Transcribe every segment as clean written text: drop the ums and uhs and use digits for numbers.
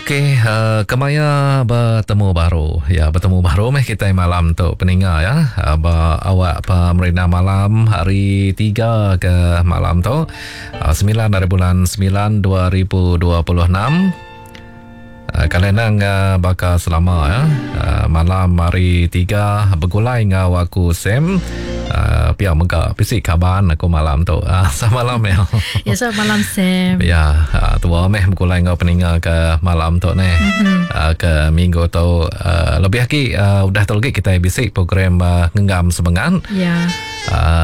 Okey, kemaya betemu baru. Ya, betemu baru meh kitai malam tu peninga ya. Ba awak pemerindang malam hari 3 ke malam tu. 9 hari bulan 9 2026. Kali nang baka selama ya. Malam hari 3 begulai enggau aku Sam. Pia mega bisi kaban aku malam tu. Selamat malam Mel. Ya, selamat malam Sam. Ya, tua meh begulai enggau peninga ke malam tu neh. Mm-hmm. Ke minggu tu lebih agi udah tu lagi kita bisi program ngenggam semengat. Ya.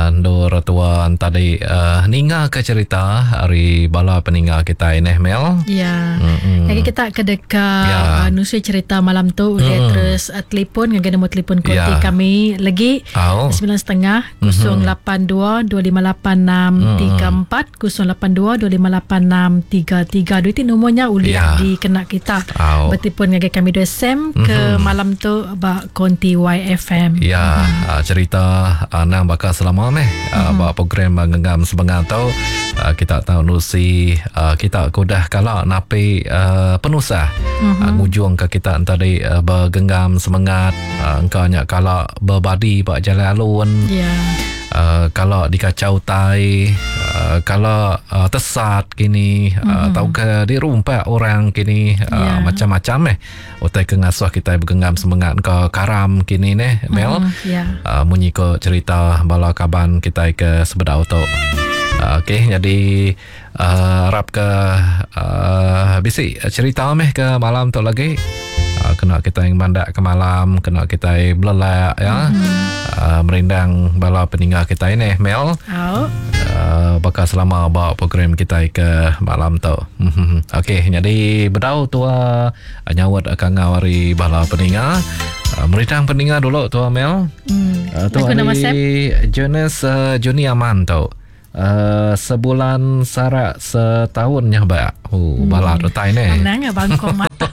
Endur tua tadi ninga ke cerita ari bala peninga kitai neh Mel. Ya. Mm-hmm. Lagi kita ke deka ya. Nusui cerita malam tu ulih mm. terus telefon ngagai nombor telefon konti ya. Kami lagi 9.30 082 2586 34 082 2586 33. Duit nomornya ulih ya. Dikena kita. Bertelefon ngagai kami dua Sam ke mm-hmm. malam tu ba konti YFM. Ya, mm-hmm. Cerita nang baka selama meh mm-hmm. Ba program ngenggam sebengat tu kita tahu nusi kita ke udah kala napi penusah mm-hmm. Ngujung ke kita tadi bergenggam semengat engka nya kala berbadi ba jalan alun. Ya. Kala dikacau utai, kala tesat kini mm-hmm. Tau ke dirumpak orang kini yeah. Macam-macam eh utai ke ngasuh kita bergenggam semengat ke karam kini neh Mel. Yeah. Munyi ko cerita bala kaban kita ke sebedau tu. Okey, jadi harap ke bisi cerita meh ke malam tu lagi. Kena kita yang mandak ke malam, kena kita belelak ya. Merindang bala peninga kita ini Mel. Oh. Bakal selama ba program kita ke malam tu. Okey, jadi bedau tua nyawut kangau hari bala peninga. Merindang peninga dulu tua Mel. Tu hari Jonas Juni Aman tu. Sebulan sarak setahun nya ba. Oh, balat utai ne. Anang ya bangkong mata.